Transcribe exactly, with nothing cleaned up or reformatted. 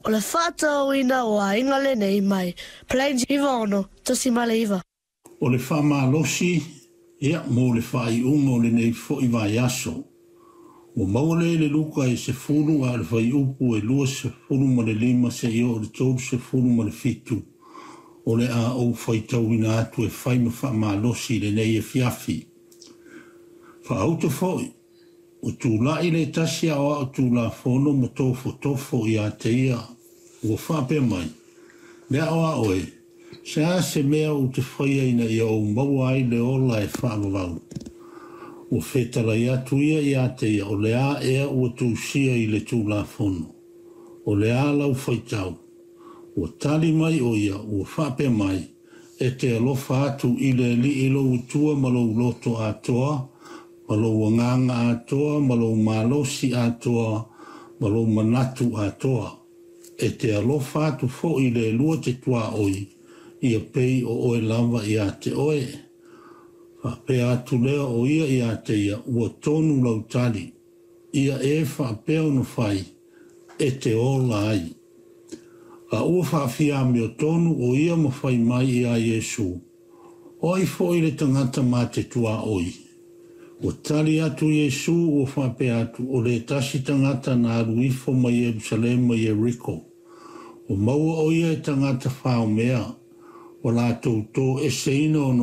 O le faatauina o aiga lenei mai Plains iva ono tasi iva. O le faamalosi ia mo le faaiuga o lenei foi vaiaso. Ua maua lea i le Luka e sefulu a o le fuaiupu e luasefulu ma le lima seia oo i le tolusefulu ma le fitu. O le a ou faitauina atu e fai ma faamalosi i lenei afiafi. Faauto foi, ua tulai le tasi aoao Tulafono ma tofotofo ia te ia, ua faapea mai, le aoao e, se a se mea ou te faia ina ia ou maua ai le ola e faavavau. Ua fetalai atu ia ia te ia, o le a ea ua tusia i le Tulafono, o le a lau faitau. Ua tali mai o ia, ua faapea mai, e te alofa atu i le Alii lou Atua ma lou loto atoa, ma lou agaga atoa, ma lou malosi atoa, ma lou manatu atoa. E te alofa atu foi i le lua te tuaoi, ia pei o oe lava ia te oe. Faapea atu lea o ia ia te ia, ua tonu lau tali, ia e faapea ona fai, e te ola ai. A ua faafiamiotonu o ia ma fai mai ia Iesu, o ai foi le tagata ma te tuaoi. Ua tali atu Iesu ua faapea atu, o le tasi tagata na alu ifo mai Ierusalema i Ieriko. Ua maua o ia e tagata faomea, ua latou toeseina ona